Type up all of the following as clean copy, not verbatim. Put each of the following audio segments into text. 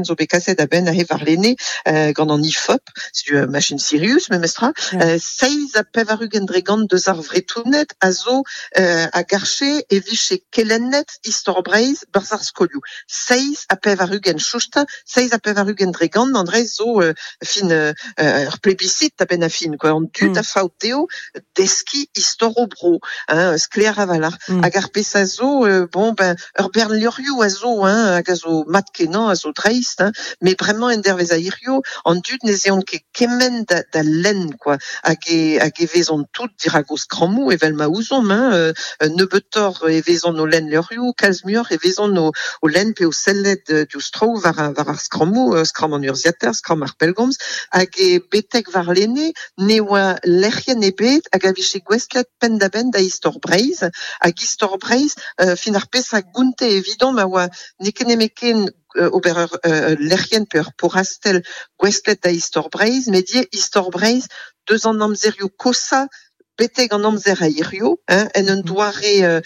Zo bet kaset a-benn aze warlene gant an IFOP, setu ur machin sirius memestra, 87% deus ar Vretoned a zo a garche e vije kelennet istor Breizh 'barzh ar skolioù. 87 chousta, 87% an dra zo fin ur plebiscite a-benn ar fin quoi. An dud a faot dezho deskiñ istor o bro, hein, sklaer a-walc'h. Hag ar pezh a zo, bon ben Ur bern levrioù a zo hein, hag a zo mat-kenañ, a zo dreist hein, met bremañ endervezh a hiziv, an dud ne zeont ket kement da, da lenn quoi, hag e, hag e vezont tout dirak o skrammoù evel ma ouzomp hein, nebeutoc'h e vezont o lenn levrioù, kalz muioc'h e vezont o, o lenn pe o sellet diouzh traoù war, war ar skrammoù, skramm an urzhiataer, skramm ar pellgomz, hag e betek warlene ne oa lec'hienn ebet hag a vije gouestlet penn-da-benn da istor Breizh, hag istor Breizh fin ar pezh a gonte evidomp a oa n'eo ket nemetken ober ur lec'hienn pe ur porrastell gouestlet da istor Breizh, met ivez istor Breizh deus an amzerioù koshañ betek an amzer a hirio, hein, en un doare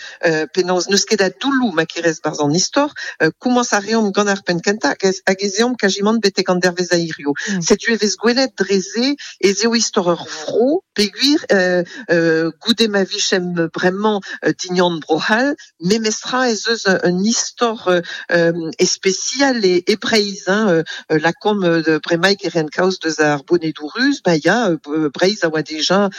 penaos n'eus ket a doulloù ma kerez 'barzh an istor. Komañs a reomp gant ar penn kentañ hag ez eomp kazimant betek an dervezh a hirio. Setu e vez gwelet dre se ez eo istor ur vro peogwir goude ma vijemp bremañ dignan Bro-C'hall, memestra ez eus un istor espesial e Breizh hein, lakaomp bremaik e ren kaoz deus ar bonedoù ruz, ba ya, Breizh a oa deja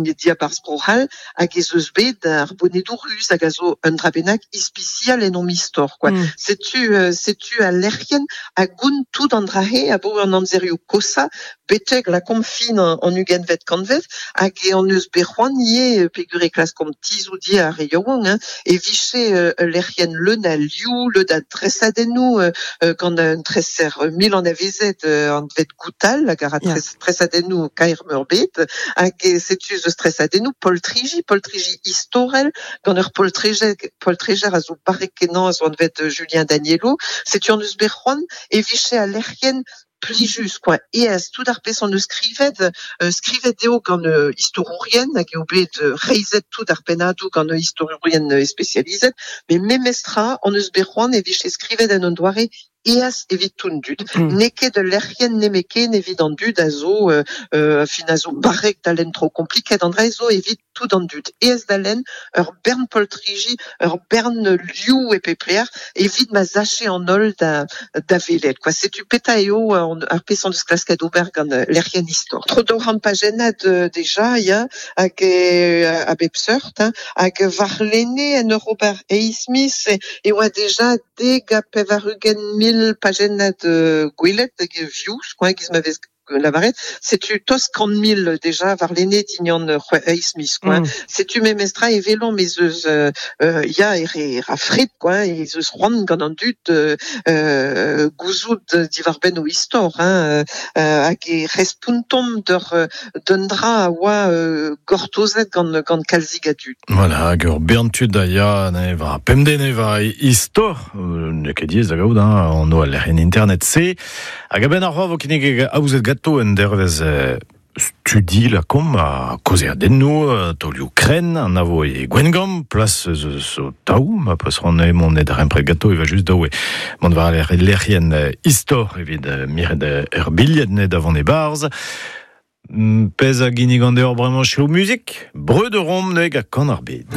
diabarzh Bro-C'hall hag ez eus bet ar bonedoù ruz hag a zo un dra bennak ispisial en hom istor quoi. Setu setu al lec'hienn a gont tout an dra-se abaoe an amzerioù koshañ betek lakaomp fin an ugentvet kantved hag e hon eus bet c'hoant ivez peogwir e klaskomp tizhout ivez ar re yaouank hein, e vije ul lec'hienn leun a liv, leun a dresadennoù gant un treser mil anavezet anvet Goutal hag a ra tresadennoù kaer-meurbet hag setu ez eus tresadennoù poltriji, poltriji istorel gant ur poltrejer a zo barrek-kenañ a zo anvet Julien Danielo. Setu hon eus bet c'hoant e vije al lec'hienn plijus kwa, aes tout ar pezh hon eus skrivet, skrivet eo gant istorourien hag eo bet reizhet tout ar pennadoù gant istorourien spesializet, met memestra hon eus bet c'hoant e vije skrivet en un doare aes evit tout an dud. N'eo ket ul lec'hienn nemetken evit an dud a zo fin a zo barrek da lenn traoù kompliket, an dra zo evit tout an dud. Aes da lenn, ur bern poltriji, ur bern liv e pep lec'h evit ma sache an holl da, da welet. Quoi. Setu petra eo ar pezh hon eus klasket ober gant lec'hienn istor. Tro 200 pajennad deja, ya, hag a bep seurt, hein, hag warlene en ur ober eizh miz e oa deja 90 pajennad gwelet hag views, quoi, giz ma vez lavaret. Setu tost 100 000 deja warlene dindan eizh miz, quoi. Setu memestra e welomp ez eus ya e re ra fred, quoi, ez eus c'hoant gant an dud gouzout diwar-benn o istor, hein, hag e respontomp d'ur d'un dra a oa gortozet gant gant kalzik a dud. Voilà, hag ur bern tud a ya ne war pemdez ne war istor, n'eo ket diaes da gaout hein, an al lec'hienn internet-se. Hag a-benn ar vo kinnig aozet ganto un dervezh studi lakaomp ha kaozeadennoù, taolioù krenn, an a vo e Gwengamp, plas eus o taou, ma peus c'hoant mont e darempred ganto e va just daou mont war lec'hienn istor evit miret ur bilhed ne da vont e-barzh. Pezh a ginnigan deoc'h bremañ selaou muzik, Breudeur omp neg ha kan ar bed.